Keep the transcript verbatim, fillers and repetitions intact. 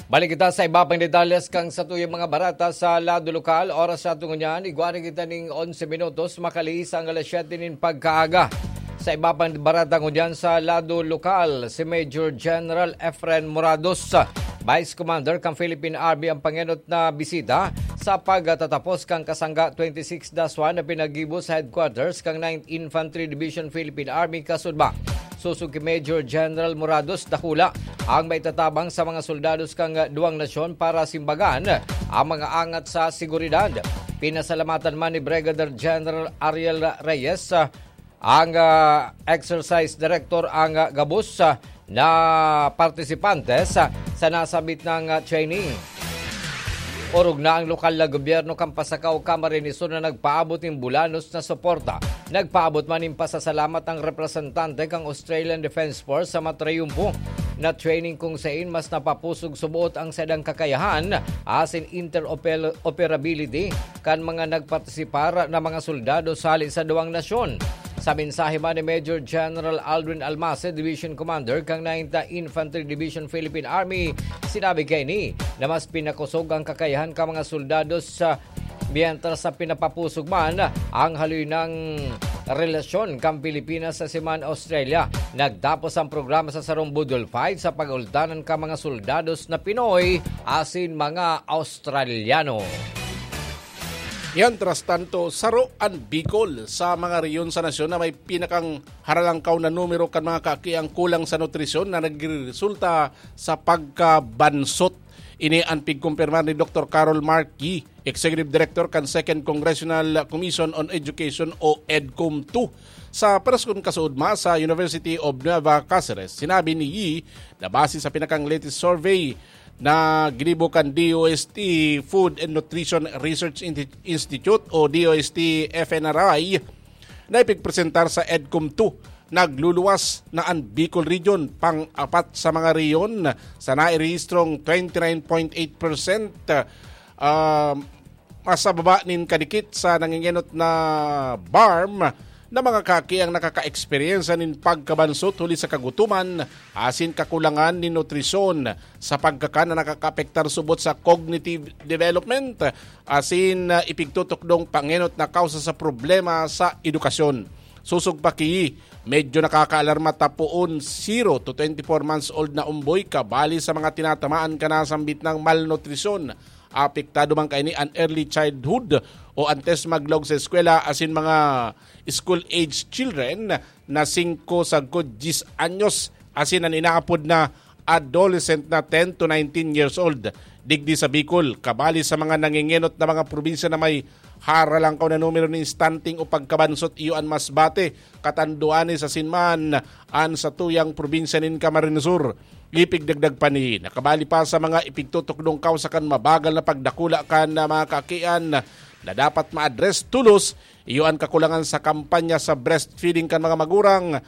Balik kita sa iba pang detalles kan satuyang mga bareta sa lado lokal. Oras sa tungo niyan, igwa na kita ning onse minutos, makalihis ang alas siyete nin pagkaaga. Sa iba pang bareta ngunyan sa lado lokal, si Major General Efren Morados, Vice Commander kan Philippine Army, ang pangenot na bisita sa pagtatapos kan Kasangga twenty-six dash one na pinaggibo sa headquarters kan Ninth Infantry Division Philippine Army, Kasudma. Sosog ki Major General Morados, dakula ang maitatabang sa mga soldados kan duwang nasyon para simbagan ang mga angat sa seguridad. Pinasalamatan man ni Brigadier General Ariel Reyes, ah, ang, ah, exercise director, ang, ah, gabos, ah, na partisipantes, ah, sa nasabit na, ah, training. Orog na ang lokal na gobyerno kan Pasacao, Camarines Sur na nagpaabot nin bulanos na suporta. Nagpaabot man nin pasasalamat ang representante kan Australian Defence Force sa matrayumpo na training, kung sain mas napapusog suboot ang saindang kakayahan asin interoperability kan mga nagpartisipar na mga soldado hali sa duwang nasyon. Sa mensahe man ni Major General Aldrin Almase, Division Commander kan Ninth Infantry Division Philippine Army, sinabi kaini na mas pinakosog ang kakayahan kan mga soldados sa, mientras sa pinapapusog man ang haloy na relasyon kan Pilipinas asin Australia. Nagtapos ang programa sa sarong budol fight sa pag-ultanan kan mga soldados na Pinoy asin mga Australiano. Mientras tanto, saro an Bicol sa mga rehiyon sa nasyon na may pinakang haralangkaw na numero kan mga kakiang kulang sa nutrisyon na nagreresulta sa pagkabansot. Ini an pigkumpirmar ni Doktor Carol Markey, Executive Director kan Second Congressional Commission on Education o EDCOM two, sa press con kasuodma sa University of Nueva Caceres. Sinabi ni Yi na base sa pinakang latest survey na ginibo kan D O S T Food and Nutrition Research Inti-, Institute o D O S T F N R I na ipigpresentar sa EDCOM two, nagluluwas na an Bicol Region, pang-apat sa mga rehiyon, sa nairehistrong twenty nine point eight percent, ah, mas sa baba nin kadikit sa nangingenot na BARMM na mga kaki ang nakaka-eksperyensya nin pagkabansot huli sa kagutoman asin kakulangan nin nutrisyon sa pagkakan na nakakaapektar subot sa cognitive development asin, ah, ipigtutukdong pangenot na kausa sa problema sa edukasyon. Sosog pa ki, medyo nakakaalarma ta poon zero to twenty-four months old na omboy kabali sa mga tinatamaan kan nasambit na malnutrisyon. Apektado man kaini an early childhood o antes maglaog sa eskwela asin mga school-age children na singko sagkod dyes anyos asin an inaapod na adolescent na ten to nineteen years old. Digdi sa Bicol, kabali sa mga nangingenot na mga probinsya na may haralangkaw na numero nin stunting o pagkabansot, iyo an mas bate, katanduanes asin man an satuyang probinsya nin Camarines Sur. Ipigdagdag pa ni, nakabali pa sa mga ipigtutukdong kausa kan mabagal na pagdakula kan, ah, mga kakian na dapat ma-address tolos, iyo an kakulangan sa kampanya sa breastfeeding kan mga magurang